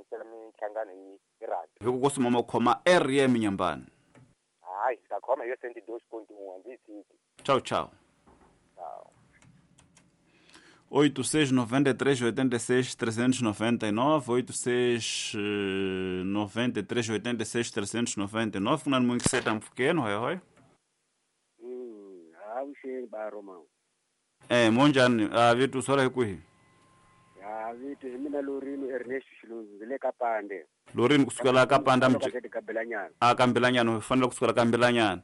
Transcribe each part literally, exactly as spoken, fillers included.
yingisela minhlangano hi hi radio. Hi ku kosuma mo khoma R M Nyambani. Hayi, ta khoma hi cent dos ponto um, ndzi tshiki. Tchau, tchau. Tchau. oito seis nove três oito seis três nove nove, oito seis nove três oito seis três nove nove, kuna mungi seta mfukeno hoy hoy. Mm, avuxeni ba Romão. Eh, monjani, a vitu sola hikuhi. Ya vitu hi mina Lorino Ernest Xilunzi le ka Pande. Lorino kusukela ka Pande mje. Ka A ka Mbilanyana, fanele kusukela ka Mbilanyana.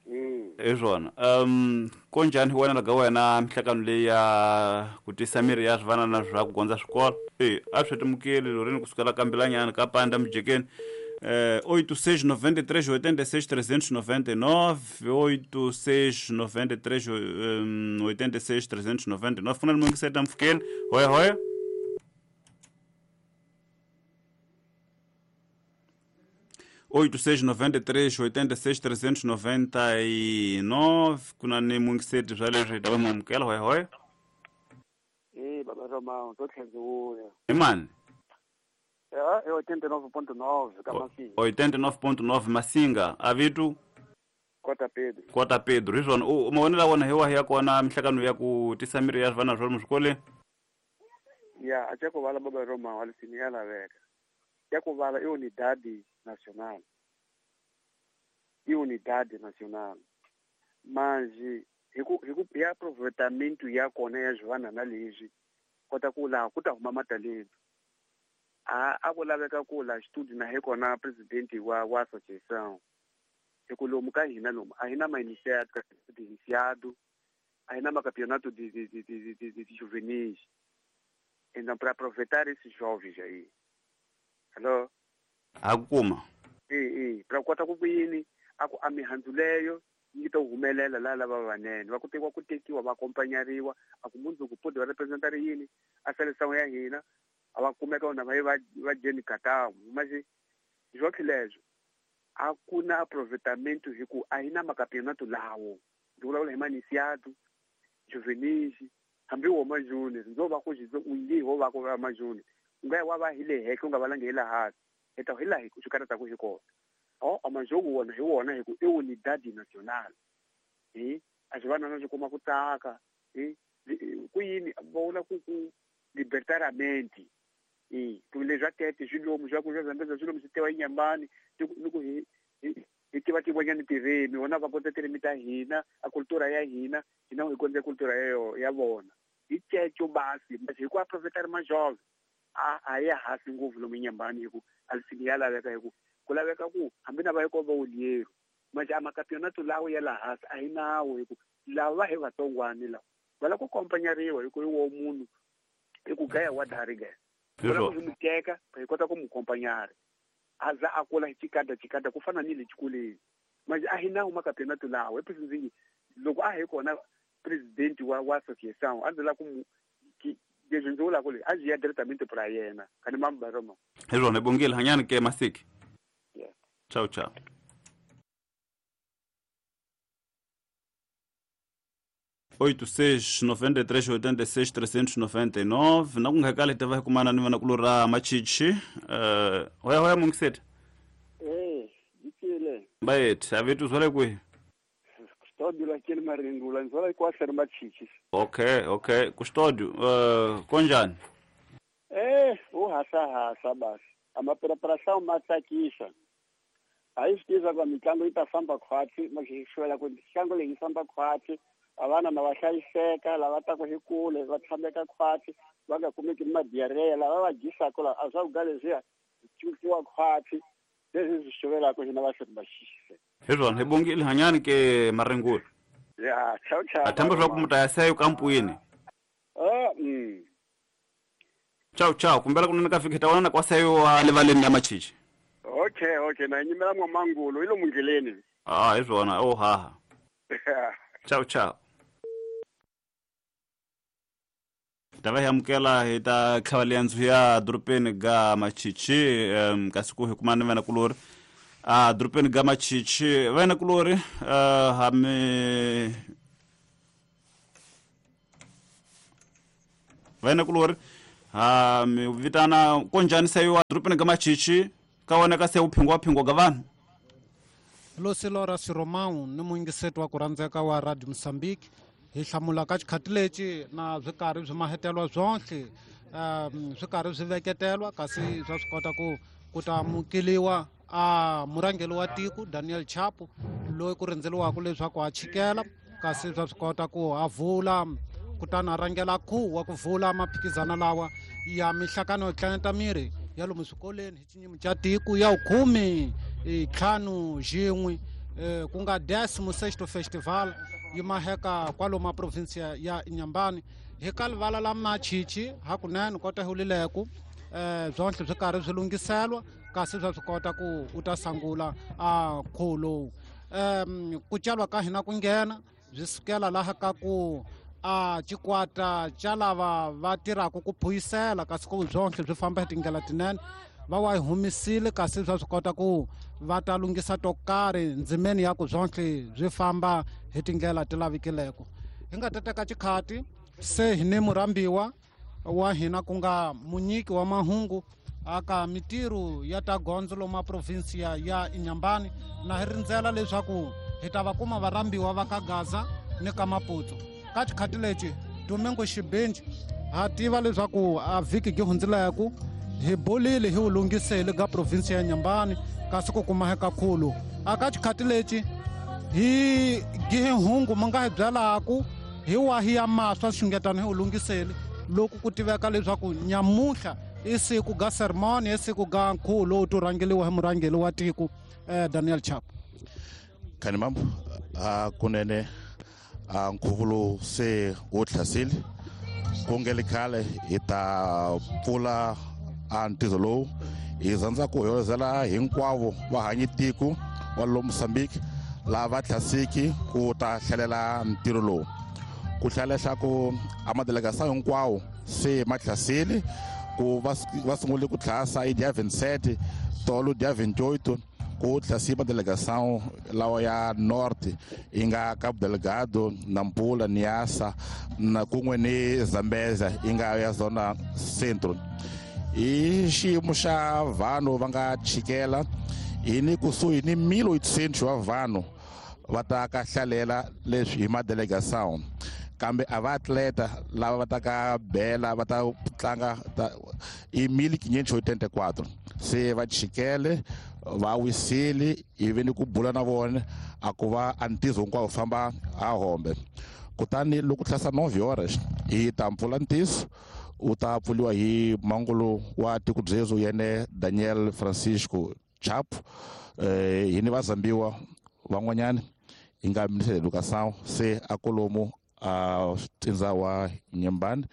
Mm. Ezona. Um konjani hi wena ga wena mihlakano leyi ya ku tisa miri ya swivana na swa ku gondza swikolo. Eh, a swi timukeli Lorino kusukela ka Mbilanyana ka Pande mjekeni. Eh, oito seis nove três oito seis três nove nove, oito seis nove três oito seis três nove nove. Funa mungi seta mfukeni. Hoya hoya. oito seis nove três oito seis três nove nove. Kuna ni mungi seta zwa leswi ta mamukela. Hoya hoya. Eh, baba Romão, to tlhenziwuya. Imani? É oitenta e nove ponto nove ka Masinga. oitenta e nove ponto nove Masinga, avitu Kota Pedro. Kota Pedro, izona u mavonelo wona hi wahi ya kona mihlakano ya ku tisa miri ya swivana swa swikolweni? Ya, a ku vala baba Romão alisini ya laveka. Ya ku vala i unidade nacional. I unidade nacional. Manje hi ku hi ku ya aproveitamento ya kona ya swivana na leswi kota ku laha ku ta huma matalento. A a ku laveka ku la xitudio na hi kona president wa wa association. Hi ku lomu ka hina lomu a hi na ma-iniciado iniciado, a hi na macampeonato de de de de de, de juvenis. Então para aproveitar esses jovens aí. Hello? A kuma. Eh eh, para kota ku yini a ku a mihandzu leyo yi ta humelela la lava vanene va ku tekiwa ku tekiwa va accompagnariwa a ku mundzuku podi va representari yini a seleção ya hina a va kumeka vona va va va jeni katamu mas joque leswo a ku na aproveitamento hi ku a hi na macampeonato lawo ndzi vulavula hi ma-iniciado juvenis hambi wo ma-junior ndzo va ku xi u nge ho va ku va ma-junior u nga ya wa va hi le henhla u nga valangi hi la hansi hi ta hi laha swi karhataka hi kona o a majogo wona hi wona hi ku i unidade nacional hi a swi vana na swi kuma ku tsaka hi ku yini va vula ku ku libertaramente. E ku leswi a tete swilomu swa ku swa Zambeza swilomu swi tewa eNyambani ni ku hi hi tiva tin'wanyani tirimi vona va kota tirimi ta hina a cultura ya hina hina hi kondza cultura ya ya vona hi ceco basi hi ku aprofetari majove a a ya hasi ngopfu lomu eNyambani hi ku alisini ya laveka hi ku ku laveka ku hambi na va yi komba ulieru manje a macampeonato lawo ya la hansi a hi nawo hi ku lava va hi vatsongwani lava va lava ku accompagnariwa hi ku hi wo munhu i ku gaya wa dari gaya ku n'wi teka hi kota ku n'wi accompagnare a za a kula hi chikada chikada ku fana ni le xikolweni manje a hi nawo macampeonato lawo hi president loko a hi kona president wa wa association a ndzi lava ku mu leswi ndzi vulaka leswi a byi ya directamente pra yena kani mamba Roma. Hi swona hi bongile hanyani ke Masiki. Yeah. Tchau tchau. oito seis nove três oito seis três nove nove na ku nga kale ta va kumana ni vana kulora Machichi. Eh, hoya hoya mungiseta. Eh, yikile. Bayet, avitu zwale kwihi? Custódio la kile Maringula, nzola kwa ri Machichi. Okay, okay, Custódio, uh, konjani? Eh, u hasa hasa basi. Amapreparação matsakisa. Aí sitiza kwa mitlango yi ta famba khwatsi, maxixwela ku mitlango leyi yi famba khwatsi. Avana na va hlayiseka lava taku hi kule va tshameka khwatsi va nga kumeki madiarreya lava va dyisaka la a swakudya leswiya cukiwa khwatsi leswi swi xuvelaka hina va hloti va xixise. Hi swona hi bongile hanyani ke Maringula. Ya, chau chau. A themba swa ku mu ta ya seyo kampwini. Eh, mm. Chau chau, kumbela kunene ka fika hi ta vonana kwa seyo wa levaleni ya Machichi. Okay, okay, na nyimela n'wamangulo i lomu ndleleni. Ah, hi swona, oh haha. Chau chau. Ta va hi amukela hi ta tlhava liyandzo ya dorobeni ga Machichi um kasi ku hi kumana ni vana kulori a dorobeni ga Machichi vana kulori uh, hami vana kulori Ha mi vitana konjani se wa dorobeni ka Machichi ka wona ka se u phingwa phingwa ka vanhu. Losilora Siromão ni muyingiseti wa ku rhandzeka wa Radio Mozambique hi hlamula ka xikhati lexi na swi karhi swi mahetelwa swonhle um swi karhi swi veketelwa kasi swa swi kota ku ku ta amukeliwa a murhangeri wa tiko Daniel Chapo loyi ku rindzeliwaka leswaku a chikela kasi swa swi kota ku a vula kutani a rhangela khuwa wa ku vula maphikizano lawa ya mihlakano yo tlangeta miri ya lomu swikolweni hi xinyimi xa tiko ya vukhume ntlhanu xin'we ku nga Décimo Sexto Festival yi maheka kwalomu provinsia ya Inhambane hi ka rivala la Machichi hakunene kota hulileku eh byonhle swi karhi swi lunghiselwa kasi swa swi kota ku u ta sangula a nkhuvo lowu um ku calwa ka hina ku nghena byi sukela laha ka ku a xikwata xa lava va tirhaka ku phuyisela kasi ku byonhle byi famba hi tindlela tinene va wa hi humisile kasi swa swi kota ku va ta lunghisa to karhi ndzimeni ya ku byonhle byi famba hi tindlela ti lavikileko hi nga ta teka xikhati se hi ni murhambiwa wa hina ku nga munyiki wa mahungu aka mitirho ya ta gondzo loma provinsia ya Inhambane na hi rindzela leswaku hi ta va kuma varhambiwa va ka Gaza ni ka Maputo ka xikhati lexi Domingo Xibinji ha tiva leswaku a vhiki gi hundzileku hi bolile hi wu lunghisele ka provinsia ya Inhambane kasi ku kuma hi kakhulu aka xikhati lexi hi gihe hungu mi nga hi byalaku hi wahi ya maswa xungetano hi wu lunghisele loko ku tiveka leswaku nyamuhla i siku ga sermon i siku ga nkhuvo lowu to rhangeliwa hi murhangeri wa tiko eh, Daniel Chapo. Khani mambo a kunene a nkhuvo lowu se wu tlhasile ku nge le khale hi ta pfula a ntizo lowu hi rhandza ku hoyozela hinkwavo vahanyi tiko wa lo Mozambique lava tlhasiki ku ta hlalela ntirho lowu ku hlaya leswaku a madelegação hinkwawo se ma tlhasile ku va sungule ku tlhasa hi dia vinte e sete tolo dia vinte e oito ku tlhasi madelegação lawa ya norte yi nga Cabo Delgado, Nampula, Niassa na kun'we ni Zambezia yi nga ya zona centro hi xiyimo xa vanhu va nga chikela hi ni kusuhi ni mil oitocentos wa vanhu va ta ka hlalela leswi hi madelegação kambe a va atleta lava va ta ka bela va ta tlanga i mil quinhentos e oitenta e quatro se va chikele va wisile ivi ni ku bula na vona a ku va a ntizo hinkwawo famba a hombe kutani loko tlhasa nove horas hi ta mpfula ntiso u ta pfuliwa hi mangolo wa tiko byezo yene Daniel Francisco Chapo eh hi ni vazambiwa van'wanyana hi nga ministre de educação se a kolomo a tindza wa Inhambane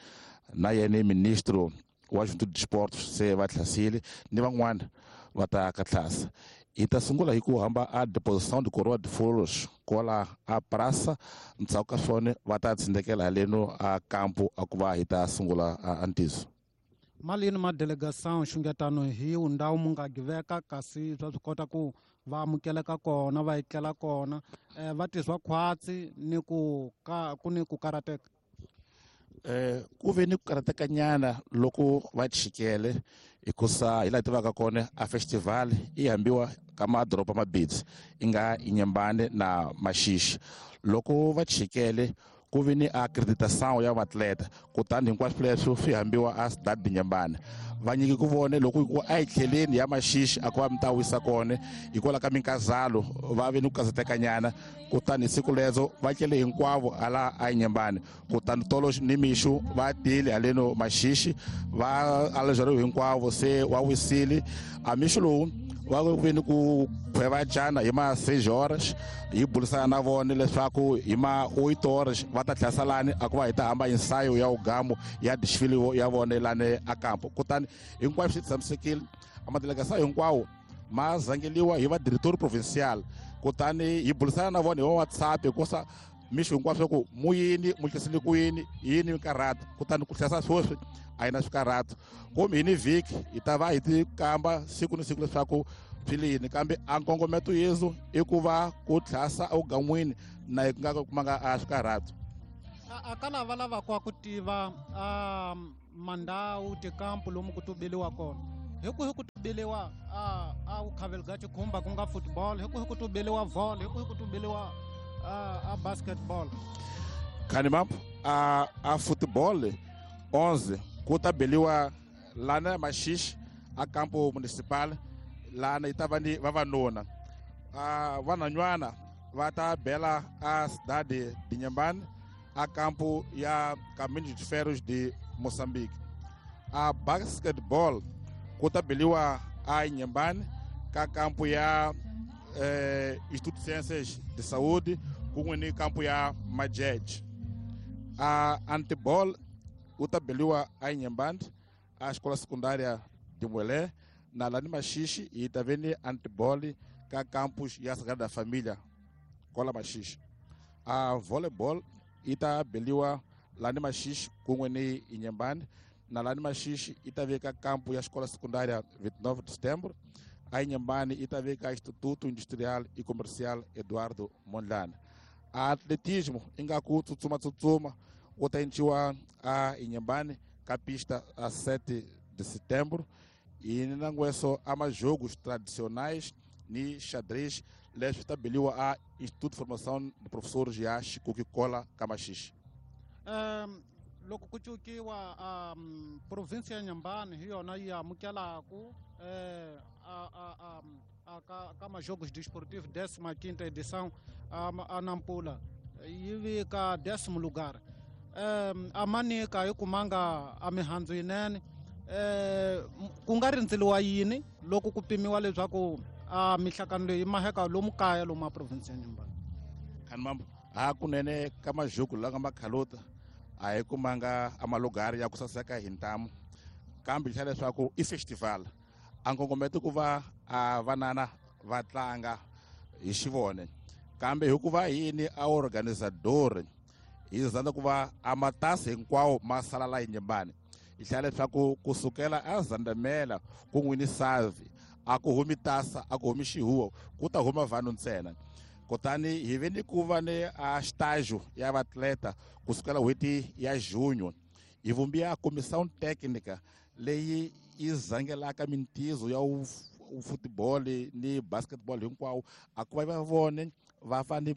na yene ministro wa juventude de esportes se va tlhasile ni van'wana va ta ka tlhasa hi ta sungula hi ku hamba a deposição de coroa de flores kwala a praça ndzhaku ka swona va ta tsindekela haleno a campo a ku va hi ta sungula a ntiso malini ma delegação xungetano hi ndhawu mu nga giveka kasi swa swi kota ku va amukeleka kona va etlela kona eh, va tizwa khwatsi ni ku ka ku ni ku karateka eh ku ve ni ku karatekanyana loko va chikele hikusa hi laha tivaka kona a festival yi hambiwa ka madoroba mabidzi yi nga Inhambane na Maxixi loko va chikele ku ve ni acreditação ya vatleta kutani hinkwaswo leswo swi hambiwa a Cidade de Inhambane va nyiki ku vone loko ku a hi tlheleni ya Maxixi a ku va mi ta wisa kona hikwalaho ka minkazalo va ve ni ku kazatekanyana kutani siku lezo va tlele hinkwavo hala a Inhambane kutani tolo ni mixo va tile haleno Maxixi va alejariwe hinkwavo se wa wisile a mixo lowu va ve ni ku khwevacana hi ma seis horas hi burisana na vona leswaku hi ma oito horas va ta tlhasa lani a ku va hi ta hamba ensayo ya ugamu ya desfile ya vona lani a campo kutani hinkwaswo swi tshamisekile a madelegação hinkwawo ma zangeliwa hi va diretor provincial kutani hi burisana na vona hi wa WhatsApp hikusa mixo hinkwaswo ku mu yini mu hlasile ku yini yini mikarhata kutani ku hlasa sweswi a yi na swikarhato kumbe hi ni vhiki hi ta va hi ti kamba siku ni siku leswaku swi le yini kambe a nkongometo yesu i ku va ku tlhasa evugan'wini na hi nga kumanga a swikarhato a ka lava lavaka ku tiva a mandawu tikampu lomu ku tubeliwa kona hi ku hi ku tubeliwa a a Cabo Chikhumba ku nga football hi ku hi ku tubeliwa volley hi ku hi ku tubeliwa a a basketball Khanimambo a a football onze ku ta beliwa lana Maxixe a campo municipal lana yi ta va ni vavanuna a vanhwanyana va ta bela a cidade de Inhambane a campo ya Caminho de Ferros de Moçambique a basketball ku ta beliwa a Inhambane ka campo ya eh, Instituto de Ciências de Saúde kun'we ni campo ya Majeje a handball wu ta beliwa a Inhambane a escola secundária de Muelé na lani Maxixe yi ta ve ni handball ka campus ya Sagrada Família kola Maxixe a volleyball yi ta beliwa lani Maxixe kun'we ni Inhambane na lani Maxixe yi ta veka campo ya escola secundária vinte e nove de setembro a Inhambane yi ta veka Instituto Industrial e Comercial Eduardo Mondlane a atletismo ingaku tsutsuma tsutsuma wu ta endliwa a Inhambane ka pista a sete de setembro e nangweso a majogos tradicionais ni xadrez leswi ta beliwa a Instituto de Formação de Professores ya Xikuki Kola ka Maxixe um loko ku cukiwa um province ya Inhambane hi yona yi amukelaku eh a a a a ka ka majogos desportivos décima quinta edição a, a Nampula yi vika décimo lugar um a manika yi kumanga a mihandzu yinene eh ku nga rindzeliwa yini loko ku pimiwa leswaku a mihlakano leyi maheka lomu kaya lomu a province ya Inhambane Khanimambo hakunene ka majogo la nga makhalota a hi kumanga a malugari ya ku saseka hi ntamu kambe xa leswaku i festival a nkongometo ku va a vanana va tlanga hi xivone kambe hikuva yini a organizador hi zanda ku va a matasi hinkwawo ma sala la Inhambane hi hlaya leswaku kusukela a Zandamela kun'we ni Savi a ku humi tasa a ku humi xihuwo ku ta huma vanhu ntsena kutani hi ve ni ku va ni a estágio ya vatleta kusukela n'hweti ya junho hi vumbiwa comissão técnica leyi yi zangelaka mintizo ya futbol ni basketball hinkwawo a ku va va vone va fane